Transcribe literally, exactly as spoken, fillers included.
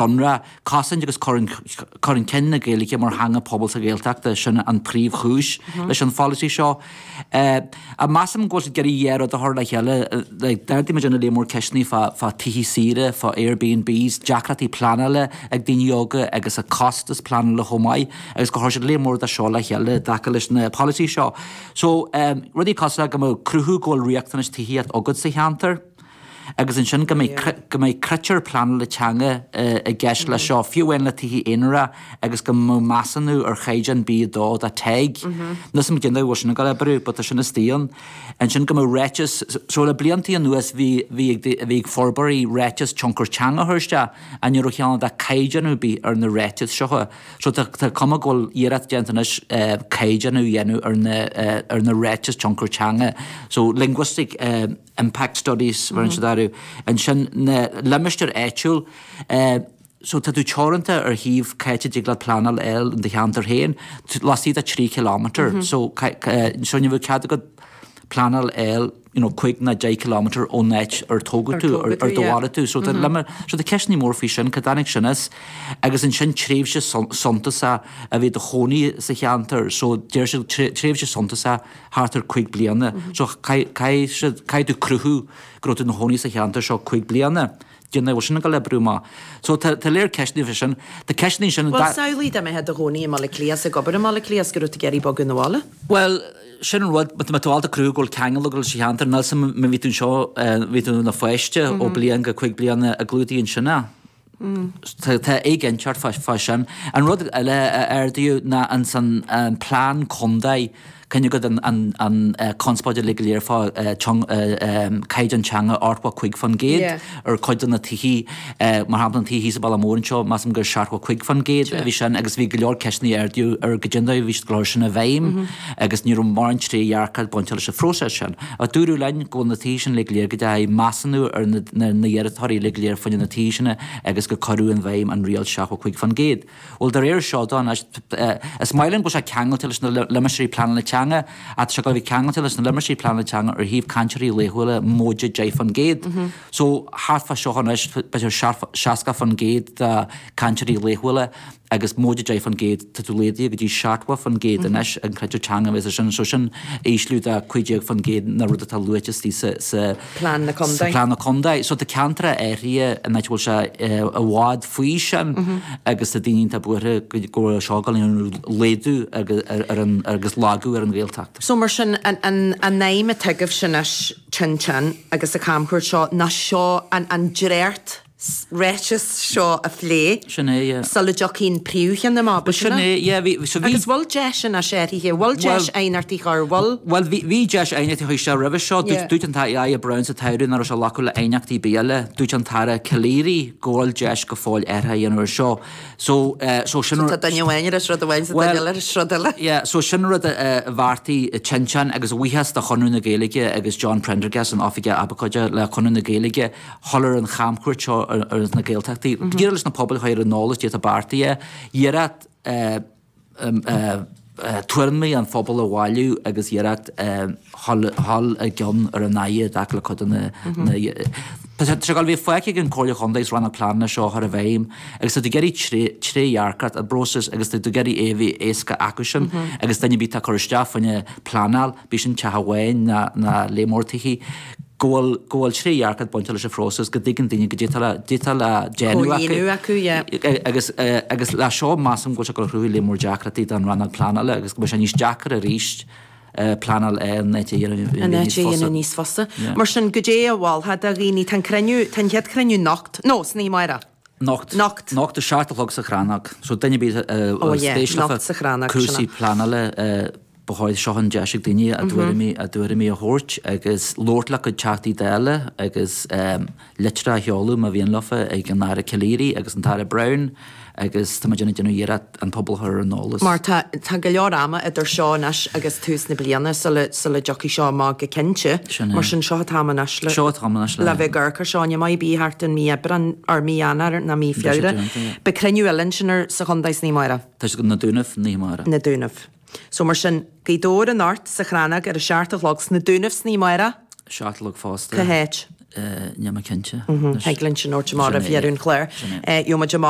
Sonrath, cosaint agus cur chun cinn na Gaeilge mar theanga pobail sa Ghaeltacht, sin an príomhchúis leis an pholasaí seo. A measaim go bhfuil siad ag iarraidh dhá rud a chur le chéile, like d'ardaigh muid ina léar mór ceisteanna fá fá tithe saoire, fá Airbnbs, deacrachtaí pleanála ag daoine óga agus a costas pleanála chomh maith agus go chuir siad léar mór de seo le chéile i dtaca leis na polasaí seo. So um, rudaí cosúil le go mbeadh cruthú go bhfuil riachtanais tithíocht agat sa cheantar, agus ansin go mbeidh go mbeidh critéir pleanála teanga i gceist leis seo, fiú amháin le tithe aonair agus go mbeadh measúnú ar chaighdeán B a dó de TEG. Níl 's a'm cén dóigh a bhfuil sin ag dul oibriú, but tá sin istigh ann. Ansin go mbeadh ráiteas, so le bliantaí anuas bhí bhí ag bhí ag forbróirí ráiteas tionchar teanga a chur isteach, ach ní raibh ceann de caighdeánú ar bith ar na ráitis seo. So tá tá cuma go bhfuil iarracht déanta anois caighdeánú a dhéanamh ar na ar na ráitis tionchar teanga. So linguistic impact studies mar siad orthu. Ansin na limistéir áitiúil, so tá tú teoranta ar thaobh cá háit a dtig leat pleanáil a fháil in do cheantar féin, laistigh de trí kilometre. So so ní bheadh cead agat pleanáil a fháil you know, cúig ná deich kilometre ón áit ar tógadh tú, ar ar do mhairfidh tú. So tá lime, so tá ceisteanna mór faoi sin, cá dtáinig sin as? Agus ansin tréimhse suntasach a bhí i do chónaí sa cheantar, so deir siad tréimhse suntasach thart ar cúig bliana. So caithfidh siad, caithfidh tú cruthú go raibh tú ina chónaí sa cheantar seo cúig bliana. Cén dóigh a bhfuil sin ag dul oibriú amach. So tá tá léir ceisteanna faoi sin. Tá ceisteanna ansin. Bhuel, samhlaigh dá mbeifeá i do chónaí i mBaile Átha Cliath is ag obair i mBaile Átha Cliath is go raibh tú ag iarraidh bogadh 'na bhaile. Bhuel, sin an rud, má tá tú ábalta cruthú go bhfuil ceangal agat leis an cheantar, níl 's a'm má bhí tú anseo, bhí tú ina pháiste ó bliain go cúig bliana an gclúdaíonn sin é. Tá tá éiginnteacht fá fá sin. An rud eile a ardaíodh ná an san an plean contae, cuimhne agat an an an conspóid uilig go léir fá caighdeán teanga ochtó cúig faoin gcéad ar chuid de na tithe, mar shampla an tithe thíos sa Bhaile Mór anseo, measaim gur seachtó cúig faoin gcéad a bhí sin agus bhí go leor ceisteanna a ardaíodh ar goidé an dóigh a bhí siad ag cur sin i bhfeidhm agus ní raibh mórán trédhearcacht bainte leis an phróiseas sin. Ach dúradh linn go bhfuil na tithe sin uilig go léir go dteachaigh measúnú ar na na hiarratasóirí uilig go léir faoi na tithe sin agus gur cuireadh in bhfeidhm an riail seachtó cúig faoin gcéad. Bhuel, de réir seo dó anois, is maith linn go bhfuil sé ceangailte leis na limistéirí pleanála teanga, ach tá sé ag dul a bheith ceangailte leis na limistéirí pleanála teanga ar thaobh cainteoirí laethúla móide deich faoin gcéad. So, thart fá seo anois, b'fhéidir seasca faoin gcéad de cainteoirí laethúla agus móide deich faoin gcéad, tá tú laghdaithe go dtí seachtó faoin gcéad anois an critéar teanga a bheas sin. So sin ísliú de cúig déag faoin gcéad na rud atá luaite istigh sa, sa, Plean na sa Contae. Plean na Contae. So tá ceantracha áirithe in áit a bhfuil sé i bhfad faoi sin agus tá daoine iontach buartha go go bhfuil seo ag dul a dhéanamh laghdú agus ar an agus lagú ar an Ghaeltacht. So mar sin an an an aidhm atá agaibhse anois Tinteán agus sa chamchuairt seo ná seo an an dréacht ráiteas seo a phlé Sin é, yeah. sula dtiocfaidh an príomhcheann amach, Bhuel, sin é, yeah, bhí, so bhí. Agus bhfuil deis anois áirithe, bhfuil deis aighneachtaí a chur, bhfuil? Bhuel, bhí, bhí deis aighneachtaí a chur isteach roimhe seo. Yeah. Dúirt an tAire Browne sa tsamhradh nach raibh sé ag glacadh le aighneachtaí ar bith eile. Dúirt an tAire Calleary go bhfuil deis go fóill athruithe a dhéanamh ar seo. So, so sin. So tá duine amháin ag rá rud amháin is duine eile ag rá rud eile. Yeah, so sin rud a bheartaigh Tinteán agus a bhuíochas do Chonradh na Gaeilge agus John Prendergast, an Oifigeach Abhcóide le Conradh na Gaeilge, dhul ar an chamchuairt seo ar ar na Gaeltachtaí. Iarraidh leis na pobail a chur ar an eolas goidé atá beartaithe, iarracht tuairimí an phobail a bhailiú agus iarracht dhul i gcion ar an Aire i dtaca le cuid de na Tá sé ag dul a bheith fágtha ag an Chomhairle Chontae agus Rannóg Pleanála seo a chur i bhfeidhm agus tá tú ag iarraidh trédhearcacht i bpróiseas agus tá tú ag iarraidh é a bheith éasca acusan agus duine ar bith atá ag cur isteach fá choinne pleanáil, bíodh sin teach amháin ná lear mór tithe, go bhfuil go bhfuil trédhearcacht bainte leis an phróiseas, go dtuigeann daoine goidé atá le goidé atá le déanamh acu. Comhlíonadh acu, yeah. Agus agus le seo measaim go bhfuil sé ag dul a chruthú lear mór deacrachtaí don rannóg pleanála agus go mbeidh sé níos deacra arís pleanáil an áit a dhéanamh An níos áit a fusa. dhéanamh níos fusa. Yeah. Mar sin, goidé a mholfá do dhaoine, tá an cruinniú, tá an chéad chruinniú anocht, no, san oíche amárach. Anocht. Anocht. Anocht a seacht a chlog sa Chrannóg. So duine ar bith a Oh yeah, spéis leofa anocht sa Chrannóg, sin cúrsaí é. pleanála ba chóir seo an deis ag daoine a dtuairimí a dtuairimí a thabhairt agus labhairt le cuid Teachtaí Dála agus litreacha a sheoladh má mhian leofa ag an Aire Calleary agus an tAire Browne agus tá muid ag déanamh iarracht an pobal a chur ar an eolas. Mar tá tá go leor ama idir seo anois agus tús na bliana sula sula dtiocfaidh seo amach go cinnte. Sin é. Mar sin seo an t-am anois le Seo an t-am anois le. le bheith ag amharc ar seo. Ní maith bí thart in mí Aibreán or mí Eanáir ná mí Beidh sé Feabhra. déanta, yeah. Beidh cruinniú eile ansin ar sa chontae san oíche amárach. Tá sé na Dúnaibh, an oíche amárach. Na Dúnaibh. So mar sin, Gaoth Dobhair anocht sa Chrannóg ar a seacht a chlog sna Dúnaibh san oíche amárach. Seacht a chlog fosta. Cá háit? Níl mé cinnte. Thig linn sin a thabhairt amach roimh dheireadh an chláir. Gheobhaidh muid amach.